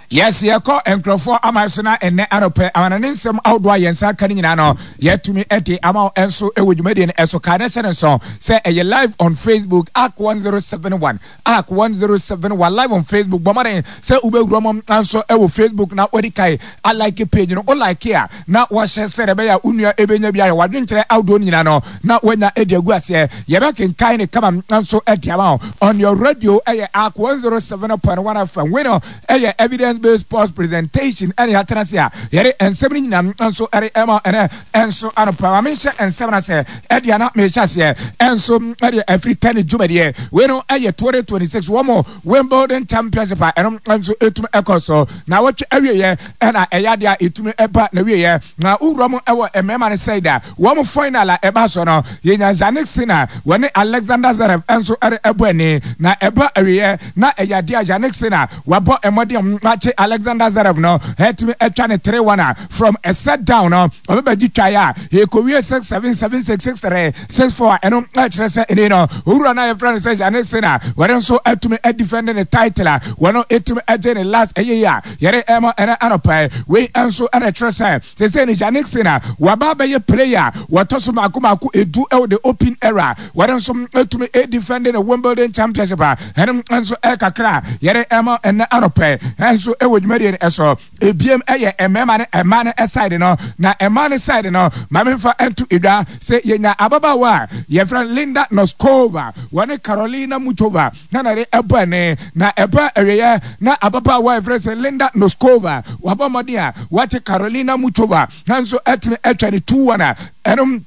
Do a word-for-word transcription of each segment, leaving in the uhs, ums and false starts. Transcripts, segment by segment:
Yes, yɛkɔ nkurɔfoɔ ama so na ɛnɛ anɔpɛ amanane nsɛm ahodoɔ a yɛn nsa aka no nyinaa no, yɛatumi de ama wo nso wɔ dwumadie no ɛso. Kae ne hyɛ ne nso sɛ ɛyɛ live on Facebook, Ark one zero seven one, Ark one zero seven one, live on Facebook. Bɔ mmɔden sɛ wobɛwura mu nso wɔ Facebook na wadi kae alike page no. Wo like a, na wɔhyɛ sɛ ɛbɛyɛ a wo nua ɛbɛnya bi ayɛ wadwenkyerɛ ahodoɔ no nyinaa no na wanya de agu aseɛ. Yɛbɛkenkan ne kama nso de ama wo. On your radio ɛyɛ Ark one zero seven point one F M. Wei no ɛyɛ evidence based sports presentation, ɛne yɛatena se a yɛde nsɛm no nyinaa nso ɛde ɛma ɛnɛ ɛnso anɔpa. Ma menhyɛ nsɛm no sɛ ɛde ana mehyɛ aseɛ ɛnso ɛde afiri tennis dwumadie. Wei no ɛyɛ twenty twenty-six wɔn mo Wimbledon Championship a ɛno nso ɛtumi ɛkɔ so na wɔtwe awieɛ, ɛna ɛyɛ adeɛ a ɛtumi ɛba na wieɛ. Na wowura mu ɛwɔ mmarima no side a, wɔn final a ɛba so no, yɛnya Jannik Sinner wɔne Alexander Zverev nso ɛde ɛbɔ ani, na ɛba awieɛ na ɛyɛ adeɛ a Jannik Sinner wabɔ mmɔden akye Alexander Zverev no, ɛtumi ɛtwa ne three one a from a set down no ɔbɛbɛgye twaeɛ a yɛkɔwie six seven, seven six, six three, six four a ɛno ɛkyerɛ sɛ ɛni no owura no a yɛfrɛ no sɛ Jannik Sinner, wɔde nso atumi adefend ne title a wɔno ɛtumi agye ne last ɛyɛ yi a yɛde ɛma ɛnɛ anɔpɛ. Wei nso ɛna ɛkyerɛ sɛ sɛsɛ ne Jannik Sinner waba bɛyɛ player wɔtɔ so mako mako edu ɛwɔ the Open era, wɔde nso atumi adefend ne Wimbledon Championship a ɛno nso ɛkakra yɛde ɛma ɛnɛ anɔpɛ ɛnso ɛwɔ dwumadie no ɛso. Ebiem ɛyɛ mmarima ne mmaa no side no, na mmaa no side no, maame nfa nto edwa sɛ yɛnya ababaawa a yɛfrɛ Linda Noskova wɔne Carolina Muchova na na de ɛbɔ ɛne, na ɛbɔ awieɛ na ababaawa a yɛfrɛ sɛ Linda Noskova wabɔ mmɔden a wakye Carolina Muchova nanso ɛtumi atwa ne two one a ɛnom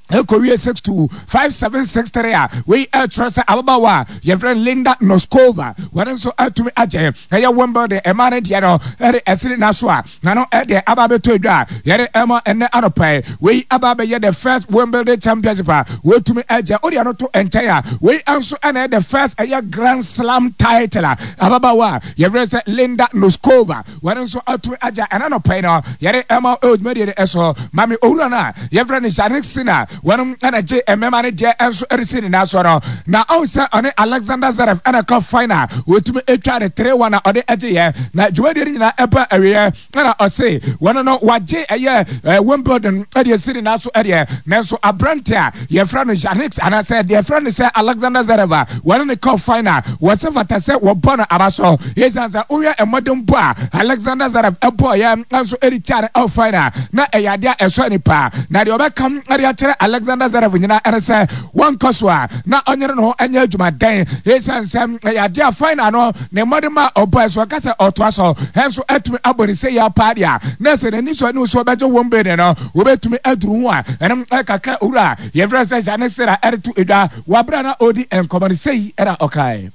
ɛkɔwie six two, five seven, six three a wei ɛkyerɛ sɛ ababaawa a yɛfrɛ Linda Noskova wɔne nso atumi agye ɛyɛ Wimbledon ɛma no deɛ no ɛde ɛsene n'aso a na no ɛde aba abɛtɔ adwa a yɛde ɛma ɛnɛ anɔpɛ. Wei aba abɛyɛ the first Wimbledon Championship a wɔtumi agye. Wode ano to nkyɛn a, wei nso ɛna ɛyɛ the first ɛyɛ Grand Slam title a ababaawa a yɛfrɛ sɛ Linda Noskova wɔne nso atumi agye ɛna anɔpɛ no yɛde ɛma ɛwɔ dwumadie no ɛso. Maame owura no a yɛfrɛ no Jannik Sinner, wɔnom ɛna gye mmarima no deɛ nso ɛresi ne nan so no, na ɔn sɛ ɔne Alexander Zverev ɛna kɔ final, wɔtumi atwa ne three one a ɔde agye yɛ. Na dwumadie no nyinaa ɛba awieɛ ɛna ɔse wɔno no wagye ɛyɛ ɛɛ Wimbledon ɛde asi ne nan so ɛdeɛ, nanso aberante a yɛfrɛ no Jannik anaasɛ deɛ yɛfrɛ no sɛ Alexander Zverev a wɔne ne kɔ final, wɔsɛ fata sɛ wɔbɔ no aba so, yɛsiane sɛ wohwɛ mmɔden bɔ a Alexander Zverev ɛbɔɔyɛ nso ɛde tia no ɛwɔ final na ɛyɛ adeɛ a ɛsɔ nipa. Na deɛ ɔbɛka ɛde akyerɛ Alexander Zverev nyinaa ɛne sɛ wɔnkɔ so a na ɔnyere ne ho ɛnyɛ adwumaden, yɛsiane sɛ ɛyɛ adeɛ a final no ne mmɔden ma ɔbɔ ɛso ɔka sɛ ɔtoa so ɛnso ɛtumi abɔ ne sɛ yɛ paa deɛ a na sɛ n'ani so ɛne so ɔbɛgye wɔn bene no, wɔbɛtumi aduru ho a ɛnom ɛkakra. Owura yɛfrɛ sɛ Jannik Sinner ɛde to edwa wabra na ɔdi nkɔmɔ no sɛyi ɛna ɔkae.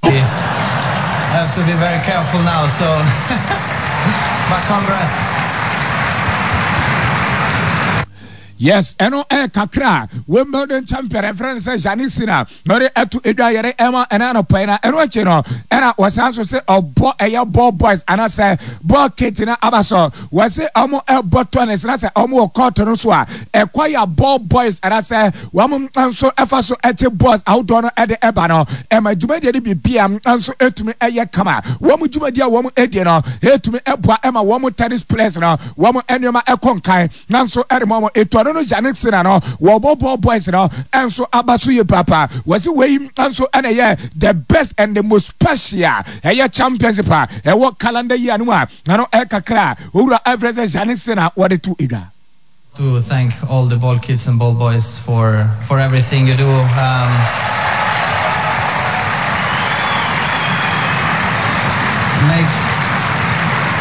I have to be very careful now, so but congrats. Yes, ɛno ɛyɛ kakra a Wimbledon champion ɛfrɛ no sɛ Jannik Sinner na ɔde ɛto edwa yɛre ɛma ɛna anɔpɛ. Na ɛno akyi no ɛna wɔsan so sɛ ɔbɔ ɛyɛ ball boys anaasɛ ball kit na aba so, wɔsɛ ɔmo ɛbɔ tennis na sɛ ɔmo wɔ court no so a, ɛkɔ yɛ ball boys anaasɛ wɔn nso ɛfa so ɛte balls ahodoɔ no ɛde ɛba no, ɛma dwumadie no bibia nso ɛtumi ɛyɛ kama. Wɔn dwumadie a wɔn ɛdi no ɛtumi ɛboa ɛma wɔn tennis players no wɔn nneɛma ɛkɔ nkan nanso ɛde mu ɔmo etu ɔno no Jannik Sinner no wɔbɔ ball boys no ɛnso aba so yie papa. Wɔsi wei nso ɛna ɛyɛ the best and the most special ɛyɛ championship a ɛwɔ calendar year no mu a nano ɛkakra owura ɛfrɛ sɛ Jannik Sinner wɔde to edwa. To thank all the ball kids and ball boys for for everything you do. Um, make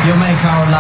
you make our life.